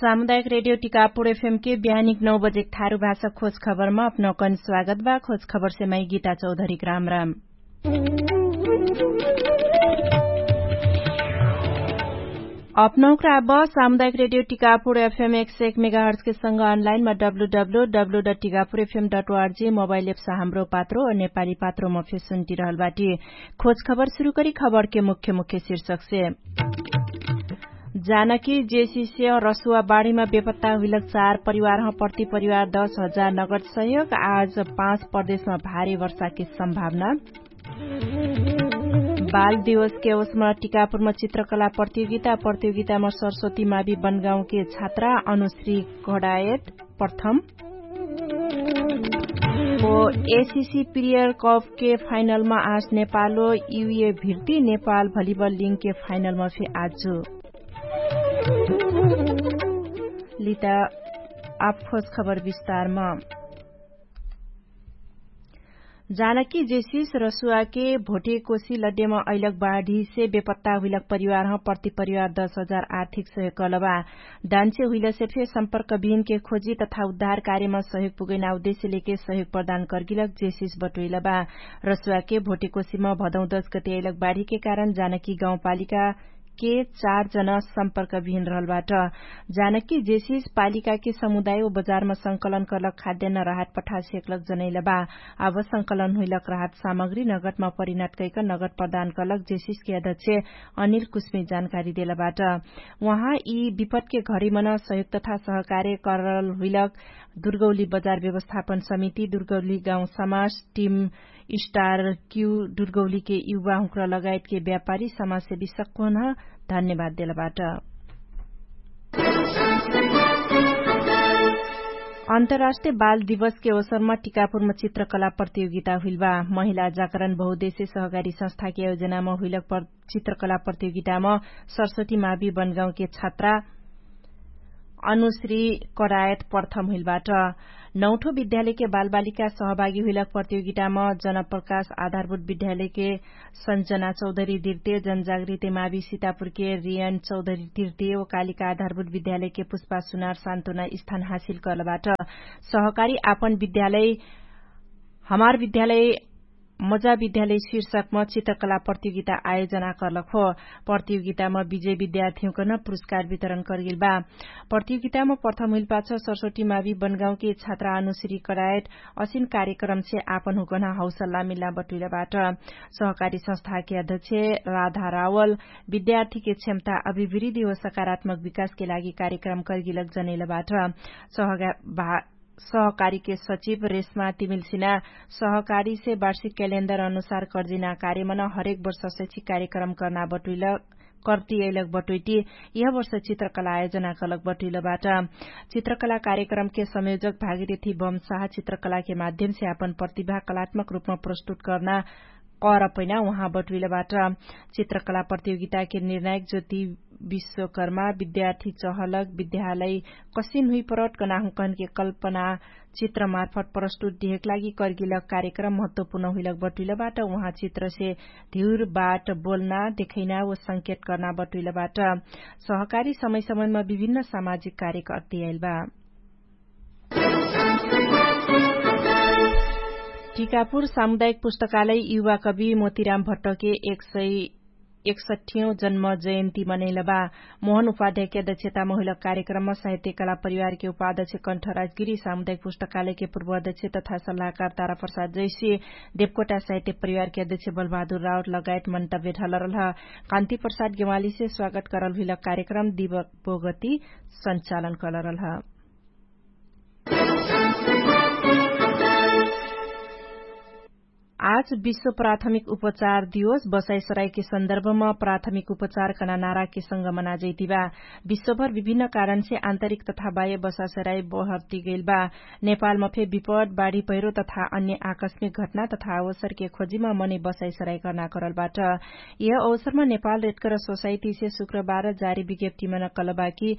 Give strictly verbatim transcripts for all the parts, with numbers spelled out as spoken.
सामुदायिक रेडियो टिकापुर एफएम के बिहानिक नौ बजेक थारु भाषा खोज खबरमा अपनौकन स्वागत बा। खोज खबर से मै गीता चौधरीक राम राम। अपनौकरा अब सामुदायिक रेडियो टिकापुर एफएम एक सय एक मेगाहर्जके संग अनलाइनमा W W W dot Tikapur FM dot ORG mobile apps Hamro Patro नेपाली पात्रोमा फेसुन्टी रहल बाटी। खोज खबर सुरु करी खबरके मुख्य मुख्य शीर्षकसे। जानकी जेसिसे रसुवा बाढीमा बेपत्ता हुइलक चार परिवारह प्रति परिवार दस हजार नगद सहयोग। आज पाँच प्रदेशमा भारी वर्षाके सम्भावना। बाल दिवसके अवसरमा टिकापुरमा चित्रकला प्रतियोगिता। प्रतियोगितामा सरस्वती मावि बनगाउँके छात्रा अनुश्री घडायत प्रथम। ओ एसिसी प्रियर कपके फाइनलमा आज नेपालो युए भिर्ती नेपाल भलिबल लिङ्गके फाइनलमा फे आजु। लिता आफोस खबर विस्तारमा। जानकी जेसिस रसुवाके भोटेकोसी लड्डेमा अइलक बाढीसे बेपत्ता हुइलक परिवारह प्रति परिवार दस हजार आर्थिक सहयोग कलबा। दान्चे हुइलसे फे सम्पर्क बिहिनके खोजी तथा उद्धार कार्यमा सहयोग पुगैना उद्देश्य लेके सहयोग प्रदान कर्गिलक जेसिस बटोइलबा। रसुवाके भोटेकोसीमा भदौँ दस गते अइलक बाढीके कारण जानकी गाउँपालिका के चार जन सम्पर्क बिहिन रहलबाट। जानकी जेसिस पालिकाके समुदाय व बजारमा संकलन कर्लक खाद्यान्न राहत पठासेक्लक जनैलबा। अब संकलन हुइलक राहत सामग्री नगदमा परिणात कैक नगद प्रदान कर्लक जेसिसके अध्यक्ष अनिल कुस्मे जानकारी देलबाट। उहाँ यि विपतके घरिमन सहयोग तथा सहकार्य करल हुइलक दुर्गौली बजार व्यवस्थापन समिति दुर्गौली गाउँ समाज टिम स्टार क्यु दुर्गौलीके युवा हुँक्र लगायतके व्यापारी समाजसेवी सक्कोन धन्यवाद देलबाट। अन्तर्राष्ट्रिय बाल दिवसके अवसरमा टिकापुरमा चित्रकला प्रतियोगिता हुइलबा। महिला जाकरण बहुदेश्य सहकारी संस्थाके आयोजनामा हुइलक चित्रकला प्रतियोगितामा सरस्वती मावि बनगाउँके छात्रा अनुश्री करायत प्रथम हुइलबाट। नौठो विद्यालयके बालबालिका सहभागी हुइलक प्रतियोगितामा जनप्रकाश आधारभूत विद्यालयके सन्जना चौधरी दिर्ते जनजागृति मावि सितापुरके रियन चौधरी दिर्ते ओकालिका आधारभूत विद्यालयके पुष्पा सुनार सान्तोना स्थान हासिल कर्लबाट। सहकारी आपन विद्यालय हमार विद्यालय मजा विद्यालय शीर्षकमा चित्रकला प्रतियोगिता आयोजना कर्लक हो। प्रतियोगितामा विजय विद्यार्थीहुँकन पुरस्कार वितरण कर्गिलबा। प्रतियोगितामा प्रथम हुइलपाछ सरस्वती मावि बनगाउँके छात्रा अनुश्री करायत असिन कार्यक्रमसे आपन हुँकन हौसल्ला मिल्ला बटुइलबाट। सहकारी संस्थाके अध्यक्ष राधा रावल विद्यार्थीके क्षमता अभिवृद्धि व सकारात्मक विकासके लागि कार्यक्रम कर्गिलक जनैलबाट। सहकारीके सचिव रेशमा तिमिल्सिना सहकारीसे वार्षिक क्यालेन्डर अनुसार कर्जिना कार्यमन हरेक वर्ष शैक्षिक कार्यक्रम कर्ना बटुइल कर्तियैलक बटुइटी यह वर्ष चित्रकला आयोजना कलक बटुइलबाट। चित्रकला कार्यक्रमके संयोजक भागीरथी बमसाह चित्रकलाके माध्यमसे आपन प्रतिभा कलात्मक रूपमा प्रस्तुत कर्ना कर पैना उहाँ बटुइलबाट। चित्रकला प्रतियोगिताके निर्णायक ज्योति विश्वकर्मा विद्यार्थी चहलक विद्यालय कसिन हुइपरट कनाहुँकहनके कल्पना चित्रमार्फत प्रस्तुत दिहेक लागि कर्गिलक कार्यक्रम महत्वपूर्ण हुइलक बटुइलबाट। उहाँ चित्रसे धिउर बाट बोल्ना देखैना व संकेत कर्ना बटुइलबाट। सहकारी समय समयमा विभिन्न सामाजिक कार्यक अट्टियाइलबा। टिकापुर सामुदायिक पुस्तकालय युवा कवि मोतिराम भट्टके एक सय एकसठ्ठीयौं जन्म जयन्ती मनैलबा। मोहन उपाध्यायके अध्यक्षतामा हुइलक कार्यक्रममा साहित्य कला परिवारके उपाध्यक्ष कण्ठ राजगिरी सामुदायिक पुस्तकालयके पूर्व अध्यक्ष तथा सल्लाहकार तारा प्रसाद जैसी देवकोटा साहित्य परिवारके अध्यक्ष बलबहादुर रावत लगायत मन्तव्य ढलरलह। कान्ति प्रसाद गेवालीसे स्वागत करल हुइलक कार्यक्रम दिवक बोगती सञ्चालन कलरलह। आज विश्व प्राथमिक उपचार दिवस बसाइसराइके सन्दर्भमा प्राथमिक उपचार कना नाराके संगमना जैतिबा। विश्वभर विभिन्न कारणसे आन्तरिक तथा बाह्य बसाइसराइ बहर्तिगैलबा। नेपालमा फे विपद बाढी पैह्रो तथा अन्य आकस्मिक घटना तथा अवसरके खोजिमा मनै बसाइसराइ कर्ना करलबाट। यह अवसरमा नेपाल रेटकर सोसाइटीसे शुक्रबार जारी विज्ञप्तिमा नकलबा कि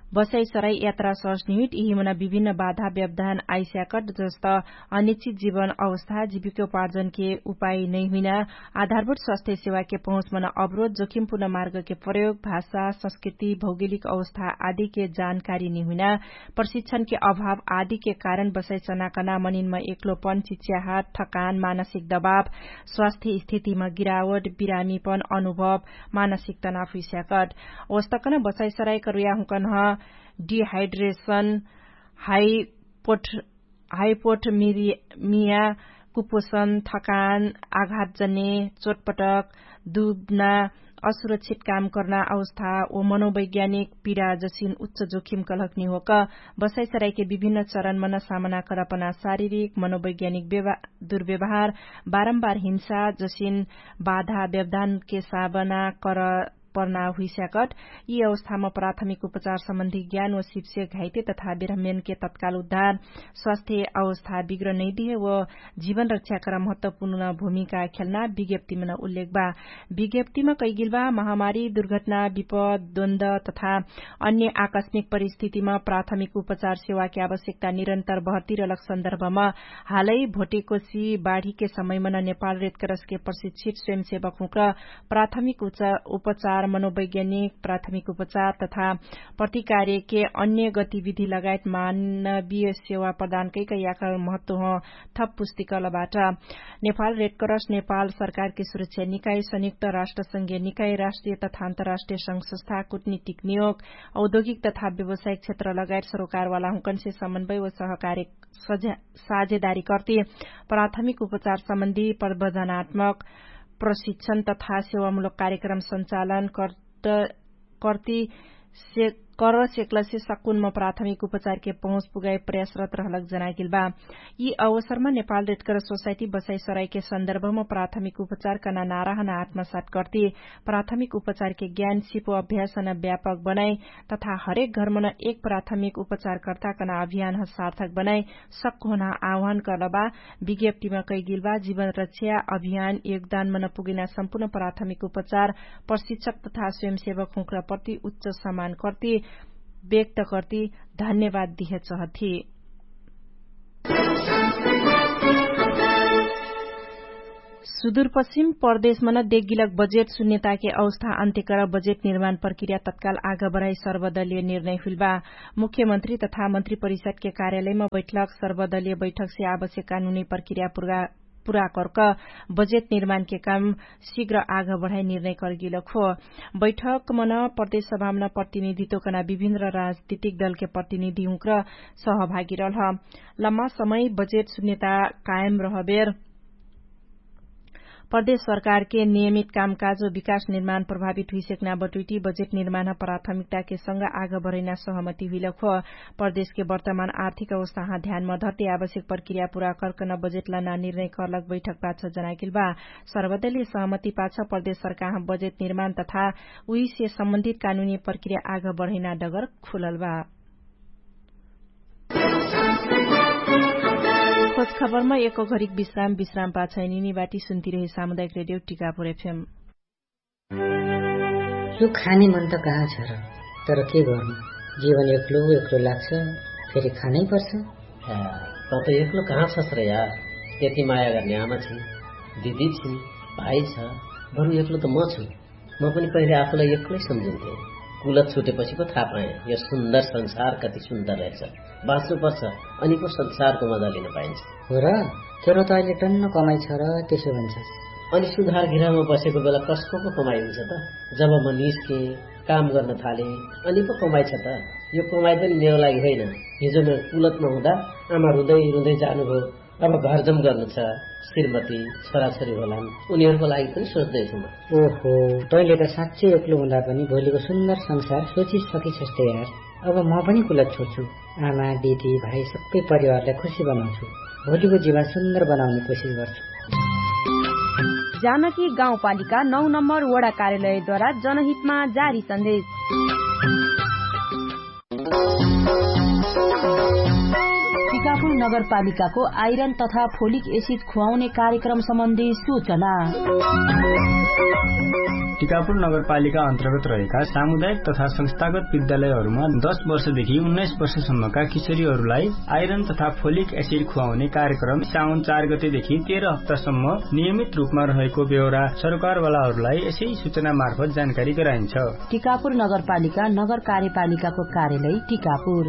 बसाइ सराइ यात्रा सस्निहित यिहिमन विभिन्न बाधा व्यवधान आइस्याकट जस्त अनिश्चित जीवन अवस्था जीविकोपार्जनके उपाय नैहुइना, आधारभूत स्वास्थ्य सेवाके पहुँचमन अवरोध जोखिमपूर्ण मार्गके प्रयोग भाषा संस्कृति भौगोलिक अवस्था आदिके जानकारी निहुइना, प्रशिक्षणके अभाव आदिके कारण बसाइ चनाकना मनिनमा एक्लोपन चिच्याहट थकान मानसिक दबाव स्वास्थ्य स्थितिमा गिरावट बिरामीपन अनुभव मानसिक तनाव हुइस्याकट। ओस्तकन बसाइ सराइ करुया हुँकन्ह डिहाइड्रेशन हाइपोट हाइपोटमिया कुपोषण थकान आघातजने चोटपटक दुबना असुरक्षित काम कर्ना अवस्था ओ मनोवैज्ञानिक पिडा जसिन उच्च जोखिम कलहक निहोक बसाइ सराइके विभिन्न चरणमन सामना करपना शारीरिक मनोवैज्ञानिक दुर्व्यवहार बारम्बार हिंसा जसिन बाधा व्यवधानके सामना कर पर्ना हुइस्याकट। यि अवस्थामा प्राथमिक उपचार सम्बन्धी ज्ञान व शिप्से घाइते तथा ब्राह्मणके तत्काल उद्धार स्वास्थ्य अवस्था बिग्र नैदिहे व जीवन रक्षाकर महत्वपूर्ण भूमिका खेल्ना विज्ञप्तिमन उल्लेख बा। विज्ञप्तिमा कैगिल बा महामारी दुर्घटना विपद द्वन्द तथा अन्य आकस्मिक परिस्थितिमा प्राथमिक उपचार सेवाके आवश्यकता निरन्तर बहर्तिरलक सन्दर्भमा हालै भोटेकोसी बाढीके समयमन नेपाल रेडक्रसके प्रशिक्षित स्वयंसेवक हुँक्र प्राथमिक उपचार मनोवैज्ञानिक प्राथमिक उपचार तथा प्रतिकार्यके अन्य गतिविधि लगायत मानवीय सेवा प्रदानकैक याकर महत्व ह। थप पुस्तिकलबाट नेपाल रेडक्रस नेपाल सरकारके सुरक्षा निकाय संयुक्त राष्ट्र संघीय निकाय राष्ट्रिय तथा अन्तराष्ट्रिय संघ संस्था कुटनीतिक नियोग औद्योगिक तथा व्यवसायिक क्षेत्र लगायत सरोकारवाला हुँकन्से समन्वय व सहकार्य साझेदारी कर्ति प्राथमिक उपचार सम्बन्धी प्रवजनात्मक प्रशिक्षण तथा सेवामूलक कार्यक्रम सञ्चालन कर्ति कर सेक्लसे सकुनमा प्राथमिक उपचारके पहुँच पुगाइ प्रयासरत रहलक जनाइगेल बा। यि अवसरमा नेपाल रेडकर सोसाइटी बसाइ सराइके सन्दर्भमा प्राथमिक उपचार कना नाराहना आत्मसात कर्ति प्राथमिक उपचारके ज्ञान सिपो अभ्यासना व्यापक बनाइ तथा हरेक घरमन एक प्राथमिक उपचारकर्ताकन अभियान ह सार्थक बनाइ सक्कोहना आह्वान कर्लबा। विज्ञप्तिमा कैगिलबा जीवन रक्षा अभियान योगदानमन पुगेना सम्पूर्ण प्राथमिक उपचार प्रशिक्षक तथा स्वयंसेवक हुँक्र प्रति उच्च सम्मान कर्ति व्यक्त कर्ति धन्यवाद दिह चहथि। सुदुरपश्चिम प्रदेशमन देगिलक बजेट सुन्यताके अवस्था अन्त्यकर बजेट निर्माण प्रक्रिया तत्काल आग बढाइ सर्वदलीय निर्णय हुइलबा। मुख्यमन्त्री तथा मन्त्री परिषदके कार्यालयमा बैठक सर्वदलीय बैठकसे आवश्यक कानुनी प्रक्रिया पुरा कर्क बजेट निर्माणके काम शिघ्र आग बढाइ निर्णय कर्गिलक हो। बैठकमन प्रदेश सभामन प्रतिनिधित्वकना विभिन्न राजनीतिक दलके प्रतिनिधि हुँक्र सहभागी रहलह। लम्मा समय बजेट सुन्यता कायम रहबेर प्रदेश सरकारके नियमित कामकाज व विकास निर्माण प्रभावित हुइसेक्ना बटुइटी बजेट निर्माण प्राथमिकताके संग आग बढैना सहमति हुइलक हो। प्रदेशके वर्तमान आर्थिक अवस्थाह ध्यानमा धर्ति आवश्यक प्रक्रिया पुरा कर्कन बजेटला ना निर्णय कर्लक बैठक पाछ जनाइगेल बा। सर्वदलीय सहमति पाछ प्रदेश सरकारह बजेट निर्माण तथा उहिसे सम्बन्धित कानुनी प्रक्रिया आग बढैना डगर खुलल बा। खोजखबरमा एक घरिक विश्राम विश्राम पाछैनिनी बाटी सुन्तिरहे सामुदायिक रेडियो टिकापुर एफएम। यो खाने मन त कहाँ छ र? तर के गर्नु, जीवन एक्लो एक्लो लाग्छ। फेरि खानै पर्छ। त त एक्लो कहाँ छस् र यार? यति माया गर्ने आमा छिन्, दिदी छिन्, भाइ छ। बरु एक्लो त म छु। म पनि पहिले आफूलाई एक्लै सम्झिन्थे। कुलत छुटेपछि पो थाहा पाएँ यो सुन्दर संसार कति सुन्दर रहेछ। बाँच्नु पर्छ, अनि पो संसारको मजा लिन पाइन्छ। हो र? तेरो त अहिले टन्न कमाइ छ र त्यसो भन्छस्। अनि सुधार गृहमा बसेको बेला कसको पो कमाइ हुन्छ त? जब म निस्केँ, काम गर्न थालेँ, अनि पो कमाइ छ त? यो कमाइ पनि मेरो लागि होइन। हिजो म कुलतमा हुँदा आमा रुँदै रुँदै जानुभयो। अब घरजम गर्नु छ। श्रीमती, छोराछोरी होलान्, उनीहरूको लागि पनि सोच्दैछु म। ओहो, तैँले त साँच्चै एक्लो हुँदा पनि भोलिको सुन्दर संसार सोचिसकिछस् त यार। अब म पनि कुलत छोड्छु। आमा, दिदी, भाइ सबै परिवारलाई खुसी बनाउँछु। भोलिको जीवन सुन्दर बनाउने कोसिस गर्छु। जानकी गाउँपालिका नौ नम्बर वडा कार्यालयद्वारा जनहितमा जारी सन्देश। टिकापुर नगरपालिकाको आइरन तथा फोलिक एसिड खुवाउने कार्यक्रम सम्बन्धी सूचना। टिकापुर नगरपालिका अन्तर्गत रहेका सामुदायिक तथा संस्थागत विद्यालयहरूमा दश वर्षदेखि उन्नाइस वर्षसम्मका किशोरीहरूलाई आइरन तथा फोलिक एसिड खुवाउने कार्यक्रम साउन चार गतेदेखि तेह्र हप्तासम्म नियमित रूपमा रहेको बेहोरा सरकारवालाहरूलाई यसै सूचना मार्फत जानकारी गराइन्छ। टिकापुर नगरपालिका नगर कार्यपालिकाको कार्यालय टिकापुर।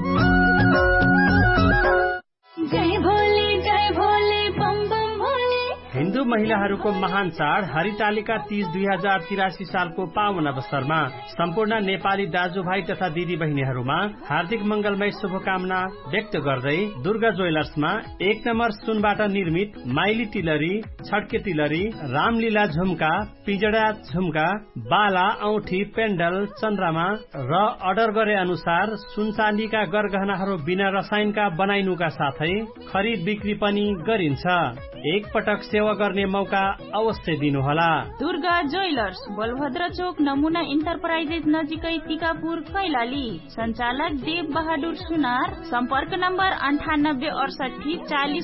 हिन्दू महिलाहरूको महान चाड हरितालिका तीज दुई हजार तिरासी सालको पावन अवसरमा सम्पूर्ण नेपाली दाजुभाइ तथा दिदीबहिनीहरूमा हार्दिक मङ्गलमय शुभकामना व्यक्त गर्दै दुर्गा ज्वेलर्समा एक नम्बर सुनबाट निर्मित माइली तिलरी, छड्के तिलरी, रामलीला झुम्का, पिजडा झुम्का, बाला औठी पेन्डल चन्द्रमा र अर्डर गरे अनुसार सुनचाँदीका गरगहनाहरू बिना रसायनका बनाइनुका साथै खरिद बिक्री पनि गरिन्छ। एकपटक सेवा गर्ने मौका अवश्य दिनुहोला। दुर्गा ज्वेलर्स, बलभद्र चोक, नमुना इन्टरप्राइजेस नजिकै, टिकापुर, कैलाली। सञ्चालक देव बहादुर सुनार। सम्पर्क नम्बर अन्ठानब्बे अडसट्ठी चालिस।